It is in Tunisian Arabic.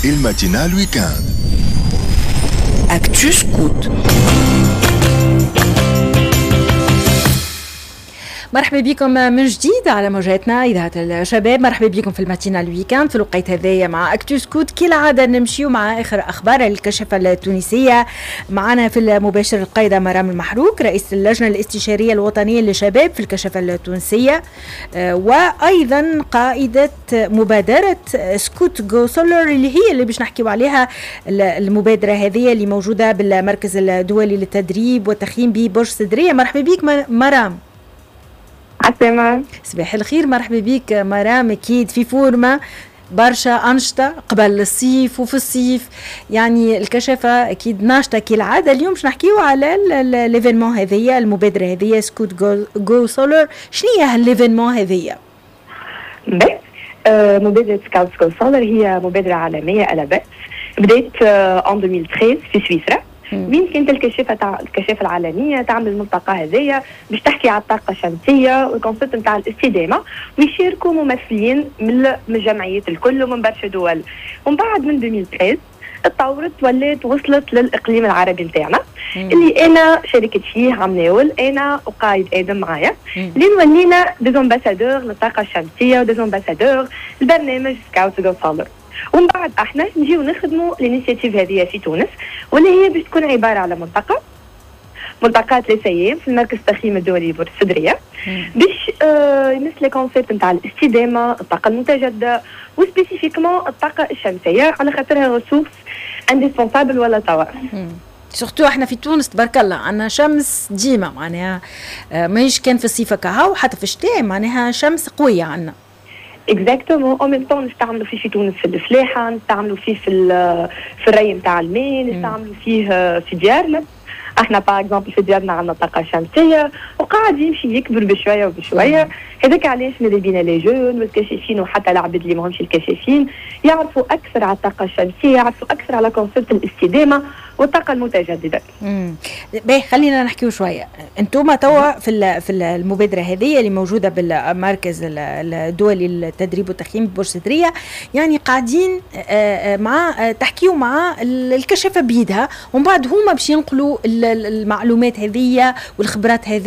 ال matinale week-end. Actu Scout. مرحبا بكم من جديد على موجاتنا إذاعة الشباب. مرحبا بكم في ال matinale week-end في الوقيت هذايا مع Actu Scout. كالعادة نمشيو مع آخر أخبار الكشافة التونسية. معنا في المباشر القايدة مرام المحروك، رئيس اللجنة الاستشارية الوطنية للشباب في الكشافة التونسية، وأيضا قائدة مبادرة Scout Go Solar اللي هي اللي باش نحكيو عليها، المبادرة هذه اللي موجودة بالمركز الدولي للتدريب والتخييم ببرج سدرية. مرحبا بك مرام. عسلامة. صباح الخير، مرحبا بك مرام. اكيد في forme برشا أنشطة قبل الصيف وفي الصيف، يعني الكشافة أكيد ناشطة كالعادة. اليوم باش نحكيو على l'événement هذيا، المبادرة هذيا Scout Go Solar. شنو هي l'événement هذيا؟ مبادرة Scouts Go Solar هي مبادرة عالمية à la base، بدات en 2013 في سويسرا، وين كانت الكشافه تاع الكشافه العالمية تعمل الملتقى هذايا باش تحكي على الطاقة الشمسية وال concept نتاع الاستدامه، ويشاركوا ممثلين من الجمعيات الكل ومن برشا دول. ومن بعد من 2013 تطورت ولات وصلت للاقليم العربي نتاعنا اللي انا شاركت فيه عام ناول، انا وقايد ادم معايا، لين ولينا des ambassadeurs للطاقة الشمسية و des ambassadeurs لبرنامج Scouts Go Solar. ومن بعد احنا نجيو نخدموا l'initiative هذه في تونس، واللي هي باش تكون عبارة على ملتقى 3 ايام في المركز التخييم الدولي برج السدريه، باش يمس les concepts نتاع الاستدامه، الطاقة المتجددة و spécifiquement الطاقة الشمسيه، على خاطرها ressource indispensable ولا توا. surtout احنا في تونس تبارك الله عندنا شمس ديما، معناها ماهيش كان في الصيف كهو، حتى في الشتاء معناها شمس قوية عندنا. exactement، en même temps نستعملوا فيه في تونس في الفلاحه، نستعملوا فيه في الري نتاع الماء، نستعملوا فيه في ديارنا. احنا par exemple في ديارنا عندنا طاقة شمسيه، وقاعد يمشي يكبر بشوية وبشويه. هذاك علاش ماذا بينا les jeunes والكشافين وحتى العباد اللي ماهمش الكشافين يعرفوا اكثر على الطاقة الشمسيه، يعرفوا اكثر على concept الاستدامة والطاقة المتجدده. باهي، خلينا نحكيو شويه. انتم توا في المبادرة هذه اللي موجودة بالمركز الدولي للتدريب والتخييم ببرج سدريه، يعني قاعدين مع تحكيو مع الكشافه بيدها، ومن بعد هما باش ينقلوا المعلومات هذه والخبرات هذه.